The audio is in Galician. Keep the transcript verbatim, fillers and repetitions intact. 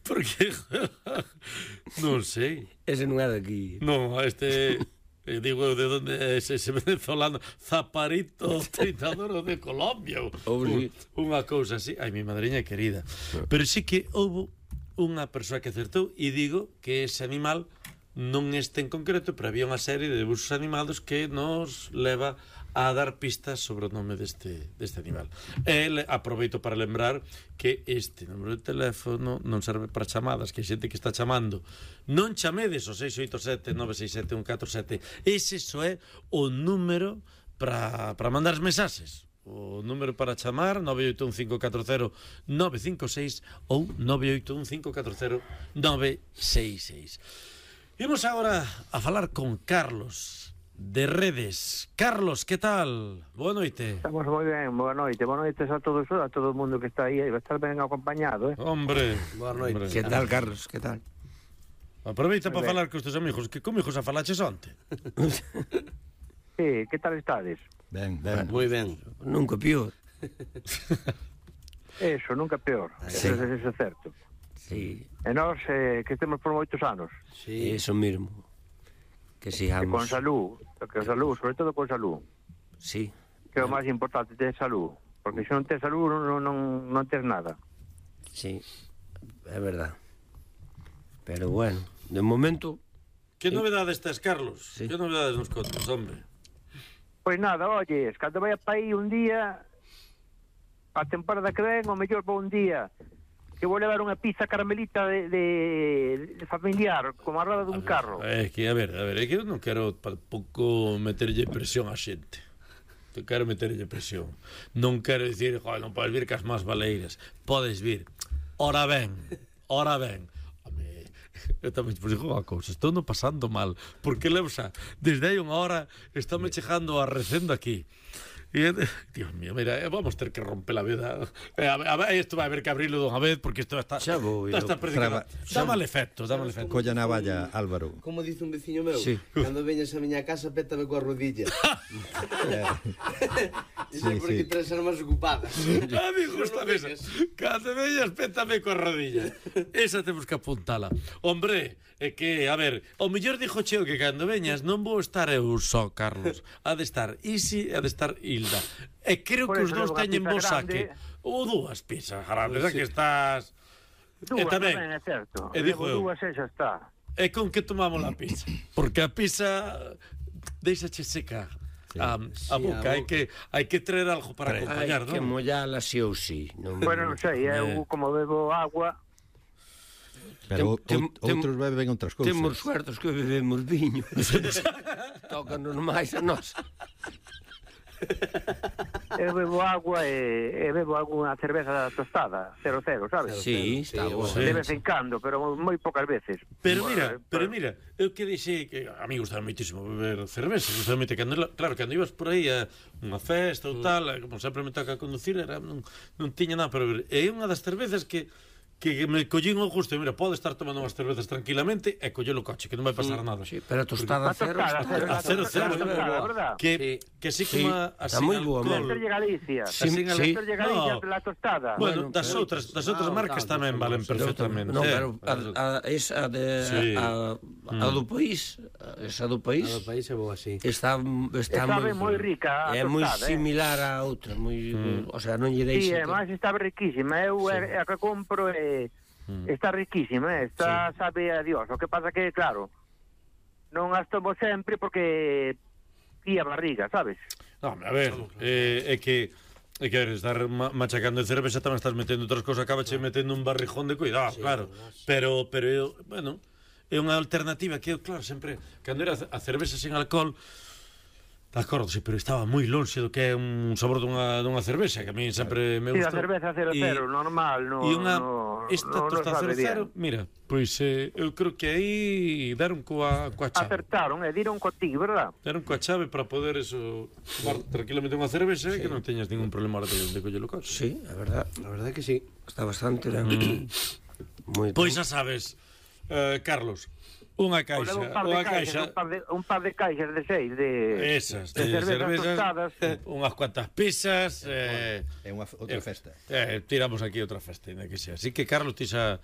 Porque non sei. Ese non é daqui. Non, este eh, digo de onde é ese, ese venezolano Zaparito Tritador de Colombia. Oh, sí. Un, unha cousa así. Ai, mi madriña querida. Pero sí que houve unha persoa que acertou e digo que ese animal non este en concreto, pero había unha serie de debuxos animados que nos leva a dar pistas sobre o nome deste, deste animal. E aproveito para lembrar que este número de teléfono non serve para chamadas, que hai xente que está chamando. Non chamedes o seis oito sete nove seis sete un catro sete. Ese só é o número para, para mandar mensaxes. O número para chamar nove oito un cinco catro cero nove cinco seis ou nove oito un cinco catro cero nove seis seis. Imos agora a falar con Carlos de Redes. Carlos, que tal? Boa noite. Estamos moi ben, boa noite. Boa noite a todos, a todo o mundo que está aí. Vai estar ben acompañado, eh? Hombre, boa noite. Hombre. Que tal, Carlos? Que tal? Aproveita para falar cos teus amigos, que como hijos a falaches onte. Sí, que tal estades? Ben, ben. Moi ben. Nunca pior. Eso, nunca peor. Sí. Eso, eso é certo. Sí. E nós, eh, que temos por moitos anos. Sí. Eso mismo. Que E sigamos. con salud, con salud, sobre todo con salud. Sí. Que é o máis importante, ter salud. Porque se non tes salud, non, non, non tes nada. Sí, é verdad. Pero bueno, de momento... Que novedades tes, Carlos? Sí. Que novedades nos contas, hombre? Pois nada, oyes, cando vai para aí un día, a temporada que ven, o mellor para un día, que vou levar unha pizza caramelita de, de, de familiar, como a roda dun carro. É que, a ver, a ver, é que eu non quero tampouco meterlle presión á xente. Te quero meterlle presión. Non quero dicir, joder, non podes vir cas más baleiras. Podes vir. Ora ben, ora ben. Home, eu tamén vos digo unha cousa, estou non pasando mal, porque levo xa, desde hai unha hora, estáme chegando a recendo aquí. E, Dios mío, mira, vamos ter que romper a veda. Eh, a, a, isto vai haber que abrirlo dunha vez, porque isto está... Xa vou, está, está Traba- dá mal efecto, dá mal efecto. Colla na valla, Álvaro. Como dice un veciño meu, Sí. cando veñas a miña casa, pétame coa rodilla. Iso é Sí, porque sí. tres armas ocupadas. A mí gusta esa. Cando veñas, pétame coa rodilla. Esa temos que apuntala. Hombre, é que, a ver, o mellor dixo Cheo que cando veñas non vou estar eu só, Carlos. Ha de estar Isi, ha de estar Hilda. E creo Por que os eso dous levo unha teñen pizza vos saque. grande. Ou dúas pizzas grandes, xa que estás... Dúas, E tamén, tamén é certo. e dixo eu. Levo dúas e xa está. E con que tomamos a pizza? Porque a pizza deixache seca a, a Sí, boca. a Hai que, hai que traer algo para Hai acompañar, que non? mollala sí ou sí. Non... Bueno, non sei, eu como bebo agua, Pero Tem- out- tem- outros beben outras cousas. Temos suertos que bebemos viño. Tócanos máis a nós. eu bebo agua e, e bebo alguna cerveza tostada, cero cero, sabes? Sí, está Sí, bo. sí. De vez en cando, pero moi poucas veces. Pero Bueno, mira, eh, pero mira, eu que dixei que a mí gustaba moitísimo beber cerveza, justamente cando, claro, cando ibas por aí a unha festa ou tal, como sempre me toca conducir, era, non, non tiña nada para beber. E é unha das cervezas que que me collín o gusto, e mira, pode estar tomando unhas cervezas tranquilamente e coller o coche, que non vai pasar nada. Sí, pero a tostada A cero tostada, está... A cero, cero, a tostada, verdad? Que, que sí que Sí, má está así moi boa, alcohol. Meterlle Galicia. Sí, Así, sí. Meterlle Galicia No. pela tostada. Bueno, Bueno, das pero- outras, das outras Ah, marcas tal, tamén tal, valen tal. perfectamente. No, eh. pero a, a, esa de Sí. a, a do país, esa do país Cada país é bo así. está está Sabe moi moi rica a é moi tostada, eh. similar a outra, moi, o sea, non lle Sí, deixa. e máis está riquísima. Eu é a que compro e está riquísima, eh. Está, sabe a Dios. O que pasa que, claro, non as tomo sempre porque tía barriga, sabes? No, a ver, eh, é que é que a ver, estar ma- machacando de cerveza tamén estás metendo outras cosas, acabache metendo un barrijón de cuidado, claro. Pero pero eu, bueno, é unha alternativa que eu, claro, sempre cando era a cerveza sin alcohol, de acordo, sí, pero estaba moi lonxe do que é un sabor dunha, dunha cerveza, que a mí sempre me Sí, gusta. a cerveza cero E- cero, normal, no, E unha, no, esta no, no tostada sabe cero cero, bien. mira, pois eh, eu creo que aí deron coa, coa chave. Acertaron, e diron contigo, verdad? Deron coa chave para poder eso tomar tranquilamente unha cerveza e que non teñas ningún problema ahora de, de coller o coche. Sí, é verdad, La verdad que sí. está bastante ben. Moi Pois xa sabes, eh, Carlos, Unha O caixa, levo un par de unha caixas, caixa, un par de, un par de caixas de seis de, esas, de, de cervezas, cervezas, tostadas. unhas cuantas pizzas, eh, É unha outra festa. eh, tiramos aquí outra festa, ainda que sea. Así que, Carlos, ti xa